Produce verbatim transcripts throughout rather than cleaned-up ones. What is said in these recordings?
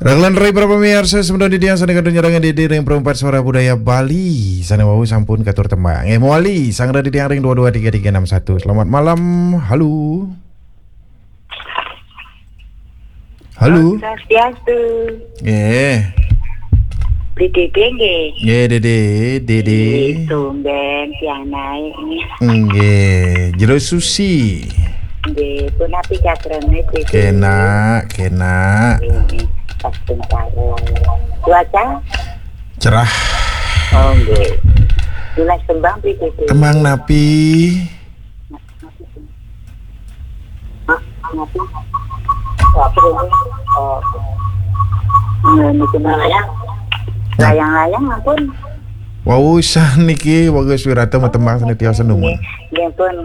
Raglan rai para pamiarsa, semeton titiang sane kantun nyarengan Dede ring Perempat Suara Budaya Bali. Sane wau sampun katur tembang. Eh, mawali, sanggra titiang ring dua dua tiga tiga enam satu. Selamat malam. Halo. Halo. Swastiastu. Eh. Di Dede nggih. Nggih, Dede, Dede. Nggih, tumben tiang naik nih. Nggih, jero susi. Nggih, punapi gatrane, Dede? Kenak, kenak. Nggih, pas karo. Cuaca? Cerah. Oh, nggih. Nunas tembang pi, Dede? Tembang napi? Hah? Apa? Apa ini? Oh. Nggih, niki layang. Nah. Layang-layang ampun. Wau, saniki Bagus Wirata matembang sane tios numun. Nggih, nggih pun.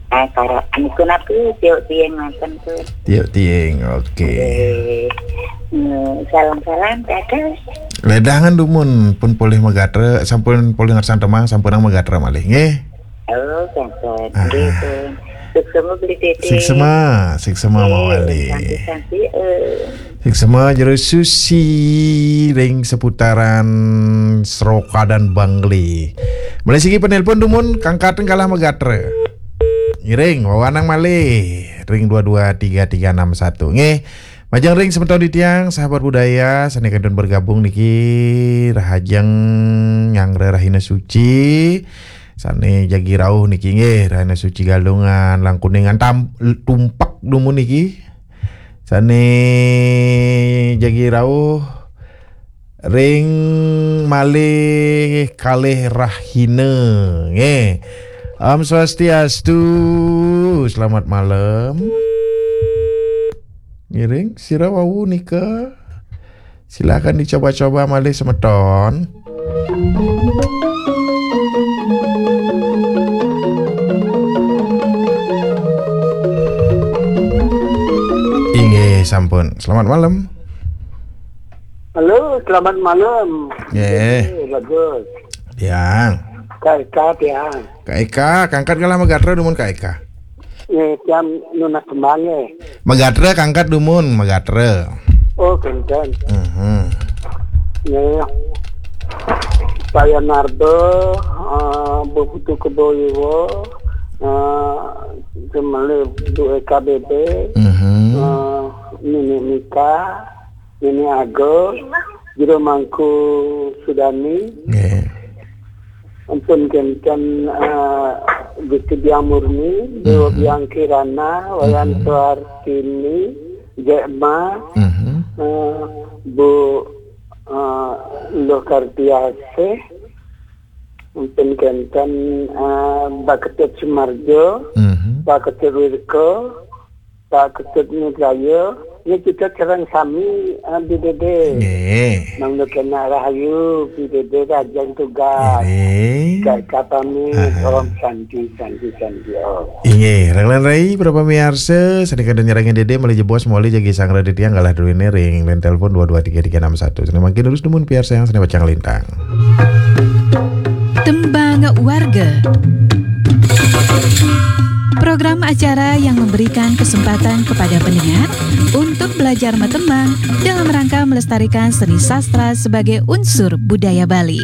Eh, karo niku napi, tiuk tiing ngoten pun. Tiuk tiing, oke. Nggih. Hmm, salam-salam, Kakak. Ledangan dumun pun polih magatra, sampun polih ngersan tembang, sampun magatra malih, nggih. Oh, sampun. Ah. Nggih, pun. Suksema beli Dede. Suksema, suksema. Nggih, mawali. Sami-sami, eh. Suksema jero susi ring seputaran Seroka dan Bangli. Malih siki penelpon dumun, kangkatang kalah magatra. Ngiring, wawanang malih ring dua dua tiga tiga enam satu. Nggih. Majeng ring semeton titiang, sahabat budaya, sane kantun bergabung niki, rahajeng nyanggra rahina suci, sane jagi rauh niki nggih, rahina suci Galungan, Langkuningan tam-, Tumpak dumun niki. Sane jagi rauh ring malih kalih rahina nggih. Om Swastiastu, selamat malam. Ngiring, sira wau nika. Silakan dicoba-coba malih semeton. Inggih, sampun. Selamat malam. Halo, selamat malam. Nggih. Nggih, bagus. Tiang. Kak Eka, tiang. Kak Eka, kangkat kalah magatra dumun Kak Eka. Nggih, tiang nunas tembang nggih. Magatra kangkat dumun, magatra. Oh, kenten. Mhm. Nggih. Pak Yanardo, eh, Bu Putu Kebo Iwa, eh, Jemale Bu Eka B B, Mhm. eh, Nini Mika, Nini Agung, Jero Mangku Sudani. Nggih. Ampun kenten, eh, Gusti Biang Murni, Dewa Mhm. Biang Kirana, Wayan Mhm. Suartini, Jek Ma, Mhm. eh, Bu, eh, Luh Kardiasih, ampun kenten, eh, Pak Ketut Sumarjo, Mhm. Pak Ketut Wirko, Pak Ketut Nugrayo, niki kita sareng sami, eh, Bi Dede. Nggih. Mangda kena rahayu, Bi Dede rajang tugas. Nggih. Kak Eka pamit, Aha. Om Santi, Santi, Santi, Om. Inggih, raglan rai, para pamiarsa, sane kantun nyarengin Dede, malih jebos, malih jagi sanggra titiang kalah druene ring line telepon dua dua tiga tiga enam satu. Sane mangkin terus dumun piarsayang sane pacang lintang. Tembang Warga. Program acara yang memberikan kesempatan kepada pendengar untuk belajar matembang dalam rangka melestarikan seni sastra sebagai unsur budaya Bali.